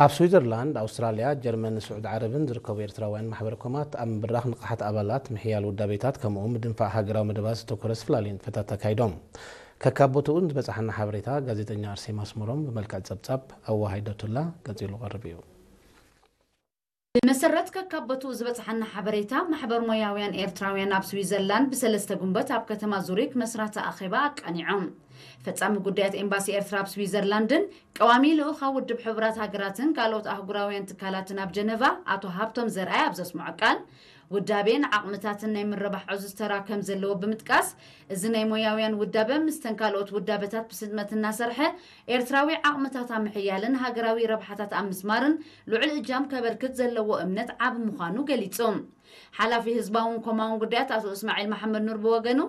ኣብ ስዊዘርላንድ፣ ኣውስትራልያ፣ ጀርመን፣ ስዑድ ዓረብን ዝርከቡ ኤርትራውያን ማሕበረ ኮማት ኣብ ምብራኽ ንቕሓት ኣባላት፣ ምሕያል ውዳቤታት፣ ከምኡ እውን ምድንፋዕ ሃገራዊ መደባት ዘተኮረ ዝተፈላለዩ ንጥፈታት ኣካይዶም። ከካብ ቦትኡ ዝበጻሓና ሓበሬታ ጋዜጠኛ ኣርሴማ ኣስመሮም ብመልክዕ ጸብጻብ ኣወሃሂደቱላ ቀጺሉ ቀርብ እዩ። ብመሰረት ከካብ ቦትኡ ዝበጻሓና ሓበሬታ፣ ማሕበር ሞያውያን ኤርትራውያን ኣብ ስዊዘርላንድ ብሰለስተ ጉንበት ኣብ ከተማ ዙሪክ መስራቲ ኣኼባ ኣቃኒዖም። ፈጻሚ ጉዳያት ኤምባሲ ኤርትራ ኣብ ስዊዘርላንድን ቀዋሚ ልኡኻ ውድብ ሕቡራት ሃገራትን ካልኦት ኣህጉራውያን ትካላትን ኣብ ጀነቫ ኣቶ ሃብቶም ዘርኣይ ኣብ ዘስምዖ ቃል፣ ውዳቤን ዓቕምታትን ናይ ምርባሕ ዕዙዝ ተራ ከም ዘለዎ ብምጥቃስ፣ እዚ ናይ ሞያውያን ውዳበ ምስተን ካልኦት ውዳበታት ብስጥመት እናሰርሐ ኤርትራዊ ዓቕምታት ኣብ ምሕያልን ሃገራዊ ረብሓታት ኣብ ምስማርን ልዑል እጃም ከበርክት ዘለዎ እምነት ዓቢ ምዃኑ ገሊጹ። ሓላፊ ህዝባውን ኮማውን ጉዳያት ኣቶ እስማዒል መሓመድ ኑር ብወገኑ፣